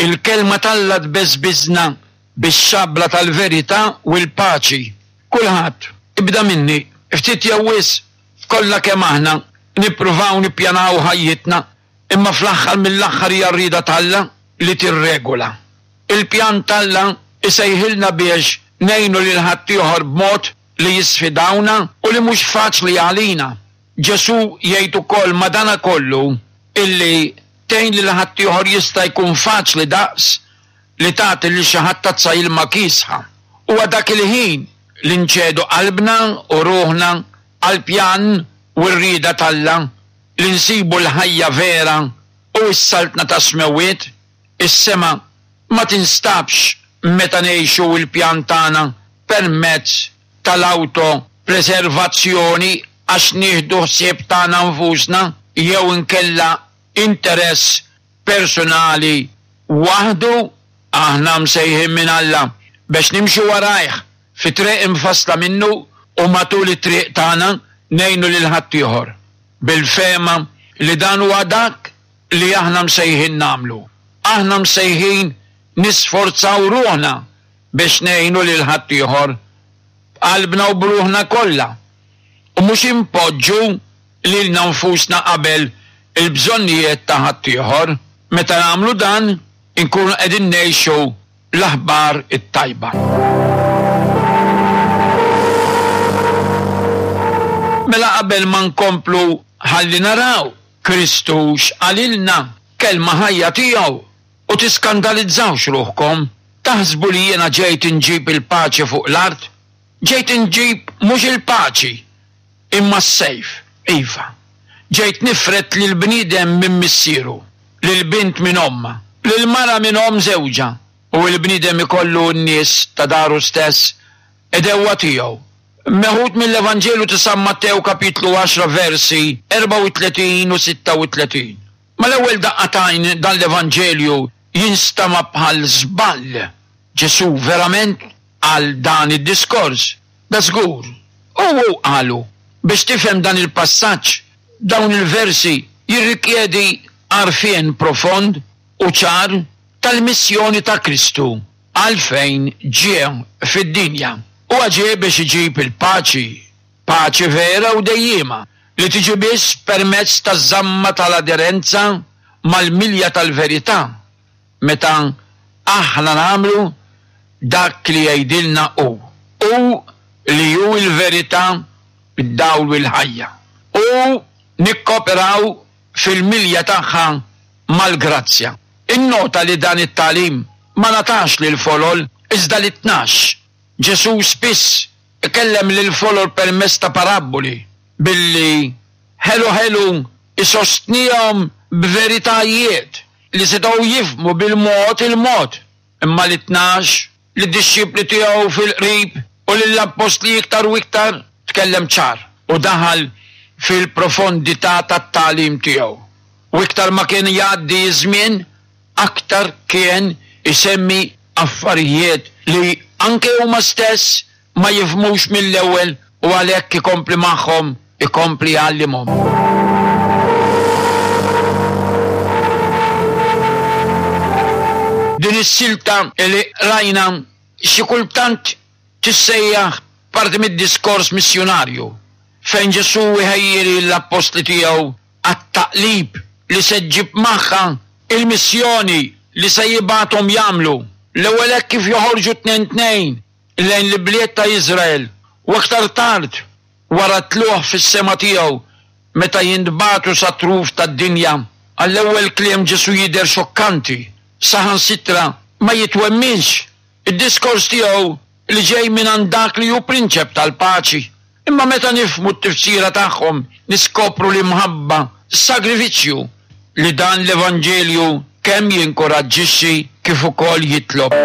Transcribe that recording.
Il-Kelma t'Alla tbeżbiżna bix-xabla tal-verità u l-paċi. Kulħadd, ibda minni, ftit jew wisq, kollha kemm aħna, nippruvaw nippjanaw ħajjitna, imma fl-aħħar mill-aħħar hija r-rieda t'Alla li tirregola. Il-pjan t'Alla jsejħilna biex ngħinu lil ħaddieħor b'mod li jisfidawna u li mhux faċli għalina. Ġesù jgħid ukoll madanakollu illi tgħin lil ħaddieħor jista' jkun faċli daqs li tagħti lil xi ħadd tazza ilma kiesħa. Huwa dak il-ħin li nċedu qalbna u ruħna għall-pjan u r-rieda t'Alla li nsibu l-ħajja vera u s-Saltna tas-Smewwiet. Is-sema ma tinstabx meta ngħixu l-pjan tagħna permezz tal-awto-preservazzjoni għax nieħdu ħsieb tagħna nfusna jew inkella interess persunali waħdu. Aħna msejħin minn Alla bex nimxu warajh fi triq imfassla minnu u matul it-triq tagħna ngħinu lil ħaddieħor, bil-fehma li dan huwa dak li aħna msejħin nagħmlu. Aħna msejħin nisforzaw ruħna biex ngħinu lil ħaddieħor b'qalbna u b'ruħna kollha, u mhux inpoġġu lilna nfusna qabel il-bżonnijiet ta' ħaddieħor. Meta nagħmlu dan, inkunu qegħdin ngħixu l-aħbar it-tajba. Mela qabel ma nkomplu ħalli naraw Kristu x'qalilna, kelma ħajja tiegħu, U tiskandalizzawx ruħkom, taħsbu li jiena ġejt inġib il-paċi fuq l-art? Ġejt inġib mhux il-paċi, imma s-sejf, iva, ġejt nifred lill-bniedem minn missieru, lill-bint minn ommha, lill-mara minn omm żewġha, u l-bniedem ikollu n-nies ta' daru stess għedewwa tiegħu. Meħud mill-Evanġelju ta' San Mattew kapitlu 10 versi 34 u 36. Mal-ewwel daqqa t'għajn dan l-Evanġelju jinstama' bħal żball. Ġesù verament qal dan id-diskors? Dażgur. U hu qalu. Biex tifhem dan il-passaġġ, dawn il-versi jirrikjedi għarfien profond u ċar tal-missjoni ta' Kristu għalfejn ġie fid-dinja. Huwa ġie biex iġib il-paċi Paċi vera u dejjiema, li tiġi biss permezz taż-żamma tal-aderenza mal-milja tal-verità, meta aħna nagħmlu dak li jgħidilna hu, hu li hu l-verità, id-dawl u l-ħajja, u nikkoperaw fil-milja tagħha mal-grazzja. Innota li dan it-tagħlim ma ngħatax lill-folol iżda lit-tnax. Ġesù spiss ikellem lill-folol permezz ta' parabboli, billi ħelu ħelu jsostnihom b'veritajiet li setgħu jifhmu bil-mod il-mod. Imma lit-tnax, lid-dixxipli tiegħu fil-qrib u lill-appostli iktar u iktar, tkellem ċar u daħal fil-profondità tat-tagħlim tiegħu. U iktar ma kien jgħaddi ż-żmien, aktar kien isemmi affarijiet li anke huma stess ma jifhmux mill-ewwel u għalhekk ikompli magħhom, ikompli jgħallimhom. Din is-silta li qrajna xi kultant tissejjaħ parti mid-diskors missjunarju fejn Ġesù jħejji lill-appostli tiegħu għat-taqlib li se ġġib magħha il-missjoni li se jibgħathom jagħmlu, l-ewwel hekk kif joħorġu tnejn tnejn lejn l-ibliet ta' Iżrael u aktar tard wara t-tlugħ fis-sema tiegħu meta jintbagħtu sat-truf tad-dinja. Għall-ewwel kliem Ġesù jidher xokkanti, saħansitra ma jitwemminx. Id-diskors tiegħu li ġej mingħand dak li hu Prinċep tal-Paċi. Imma meta nifhmu t-tifsira tagħhom niskopru l-imħabba, s-sagrifiċċju li dan l-Evanġelju kemm jinkuraġġixxi kif ukoll jitlob.